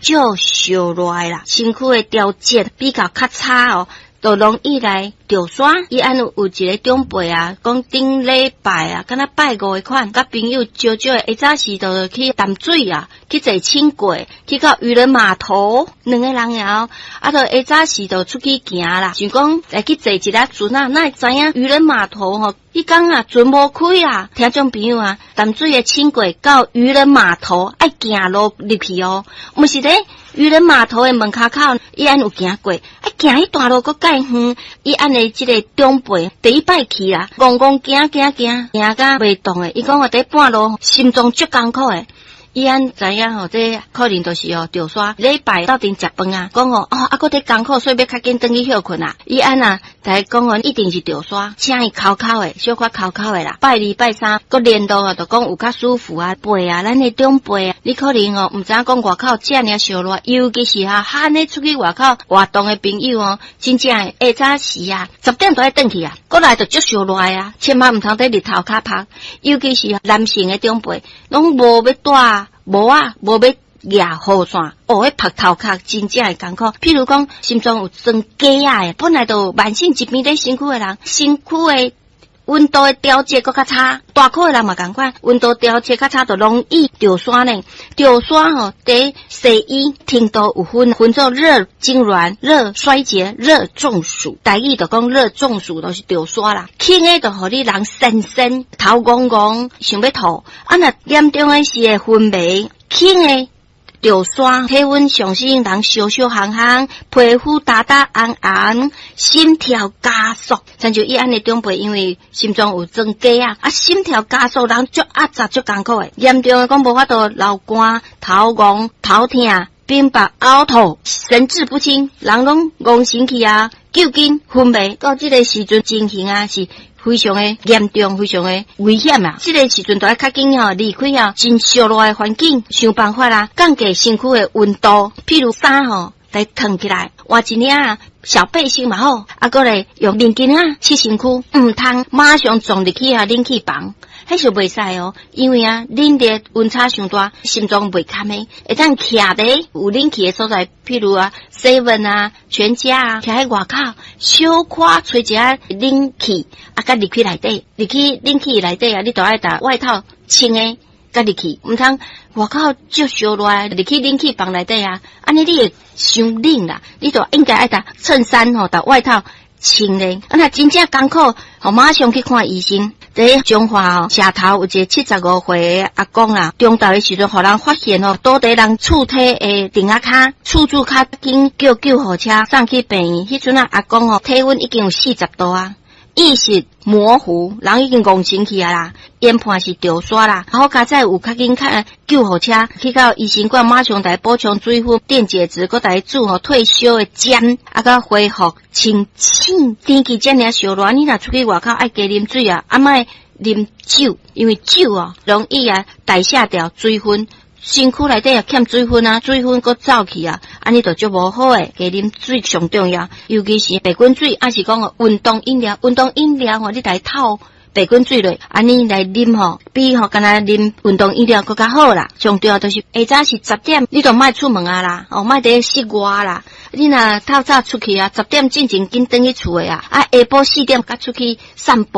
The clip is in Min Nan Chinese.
足燒熱啦，身軀的條件比較較差哦，就容易來著痧。伊按有一個長輩啊，講頂禮拜啊，敢若拜五的款，佮朋友招招的，下早時就去淡水啊，去坐輕軌，去到漁人碼頭，兩個人啊，啊，就下早時就出去行啦，想講來去坐一下船啊，哪會知影漁人碼頭吼，彼工啊船無開啊，聽眾朋友啊，淡水的輕軌到漁人碼頭愛行路入去哦，毋是咧漁人碼頭的門跤口，伊按有行過，愛行彼段路閣較遠，伊按的這個長輩第一擺去啊，戇戇行行行行甲袂動的，伊講我佇半路心臟足艱苦的。伊按知影吼，這可能就是哦，著痧禮拜鬥陣食飯啊，講吼哦，啊，閣佇艱苦，所以欲較緊轉去歇睏啊。伊按啊，來講哦，一定是著痧，請伊哭哭的，小可哭哭的啦。拜二拜三，閣聯絡啊，就講有較舒服啊，背啊，咱的長輩啊，你可能哦，毋知影講外口遮爾燒熱，尤其是哈，按呢出去外口活動的朋友哦，真正下早時啊，10點就愛轉去啊，過來就足燒熱啊，千萬毋通佇日頭跤曬，尤其是男性的長輩，攏無欲帶帽仔，無欲舉雨傘，哦，彼曝頭殼真正會艱苦。譬如講，心臟有裝假仔的，本來就有慢性疾病佇身軀的人，身軀的溫度的調節閣較差，大箍的人嘛仝款，溫度調節較差，就容易著痧呢。著痧吼，佇西醫程度有分，分做熱痙攣、熱衰竭、熱中暑。台語就講熱中暑，就是著痧啦。輕的就予你人神神頭戇戇，想欲吐。啊，若嚴重的是會昏迷，輕的著痧，體溫上升，人燒燒烘烘，皮膚焦焦紅紅，心跳加速。親像伊按呢長輩，因為心臟有裝假仔，啊，心跳加速，人足壓榨足艱苦的。嚴重的講無法度流汗、頭戇、頭疼、冰白、嘔吐、神志不清，人攏戇神去啊，究竟昏迷到這個時陣情形啊是非常的嚴重，非常的危險啊！這個時陣就愛較緊吼，離開啊真燒熱的環境，想辦法啦，降低身軀的溫度。譬如衫吼來燙起來，換一領小背心嘛好，啊，閣來用面巾仔拭身軀，毋通馬上撞入去啊冷氣房，彼是袂使哦，因為啊冷熱溫差傷大，心臟袂堪的，會當徛佇有冷氣的所在，譬如啊 seven 啊、全家啊，徛佇外口，小可吹一下冷氣，啊，閣入去內底，入去冷氣內底啊，你就愛共外套穿的，閣入去，毋通外口足燒熱，入去冷氣房內底啊，按呢你會傷冷啦，你就應該愛共襯衫吼，共外套穿咧，啊若真正艱苦，吼馬上去看醫生。佇彰化哦，社頭有一個75歲的阿公啊，中晝的時陣，予人發現哦，倒佇人厝體的欉仔跤，厝主較緊叫救護車送去病院。彼陣啊，阿公哦，體溫已經有40度啊，意識模糊，人已經戇神去啊啦，研判是著痧啦。好佳哉有較緊較救護車去到醫生館，馬上共伊補充水分、電解質，閣共伊注吼退燒的針，啊，閣恢復清醒。天氣遮爾燒熱，你若出去外口愛加啉水啊，啊莫啉酒，因為酒哦容易啊代謝掉水分，身軀內底也欠水分啊，水分閣走去啊，按呢就足無好的。加啉水上重要，尤其是白滾水，抑是講運動飲料，運動飲料吼，你來透白滾水落，按呢來啉吼，比吼干焦啉運動飲料閣較好啦。上重要就是下早時10點，你就莫出門啊啦，哦，莫佇室外啦。你若透早出去啊，十點進前緊轉去厝的啊，啊下晡4點才出去散步。